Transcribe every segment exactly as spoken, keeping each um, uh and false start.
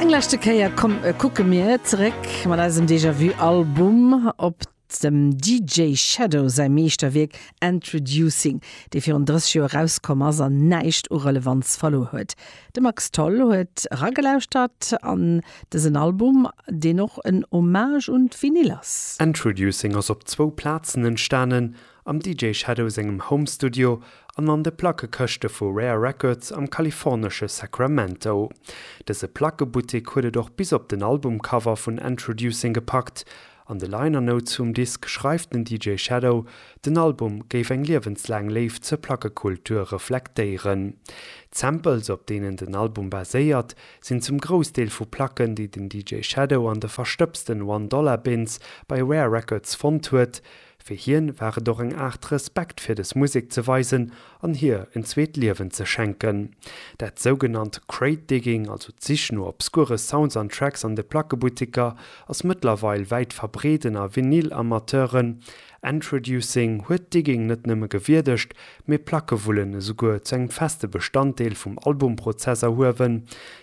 Eng leschte Kéier kucke mir zeréck mat eisem Déjà-vu Album op dem DJ Shadow säi Meeschterwierk Endtroducing, dee virun drësseg Joer erauskomm ass an näischt u Relevanz verluer huet. De Max Tholl huet eragelauschtert an dësen Album, deen och en Hommage un d'Vinyl ass. Endtroducing ass op zwou Plazen entstanen, am DJ Shadow sengem Home Studio an an de Plackekëschte vu Rare Records am kalifornesche Sacramento. Dëse Plackebuttek huet et och bis op den Albumcover vun Endtroducing gepackt. An de Liner Notes vum Disk schreift den DJ Shadow, den Album géif eng liewenslaang Léift zur Plackekultur reflektéieren. D'Samples, op deenen den Album baséiert, sinn zum Groussdeel vu Placken, déi den DJ Shadow an de verstëbsten One-Dollar-Bins bei Rare Records fonnt huet. Fir hien war et och eng Aart Respekt fir dës Musek ze weisen an hir en zweet Liewen ze schenken. Dat sougenannt Crate Digging, also d'Sich no obskure Sounds an Tracks an de Plackebutteker, ass mëttlerweil wäit verbreet ënner Vinyl-Amateuren. Endtroducing huet Digging net nëmme gewierdegt, mee Plackewullen esouguer zu engem feste Bestanddeel vum Albumprozess erhuewen.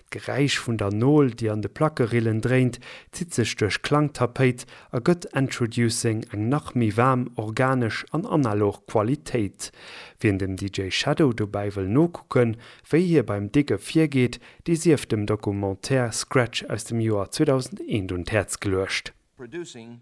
D'Geräisch vun der Nol, déi an de Plackerillen dréint, zitt sech duerch d'Klangtapéit a gëtt Endtroducing eng nach méi waarm, organesch an analog Qualitéit. Wien dem D J Shadow dobäi wëll nokucken, wéi hie beim Digge virgeet, dee sief dem Documentaire Scratch aus dem Joer zweedausendeen un d'Häerz geluecht. Producing.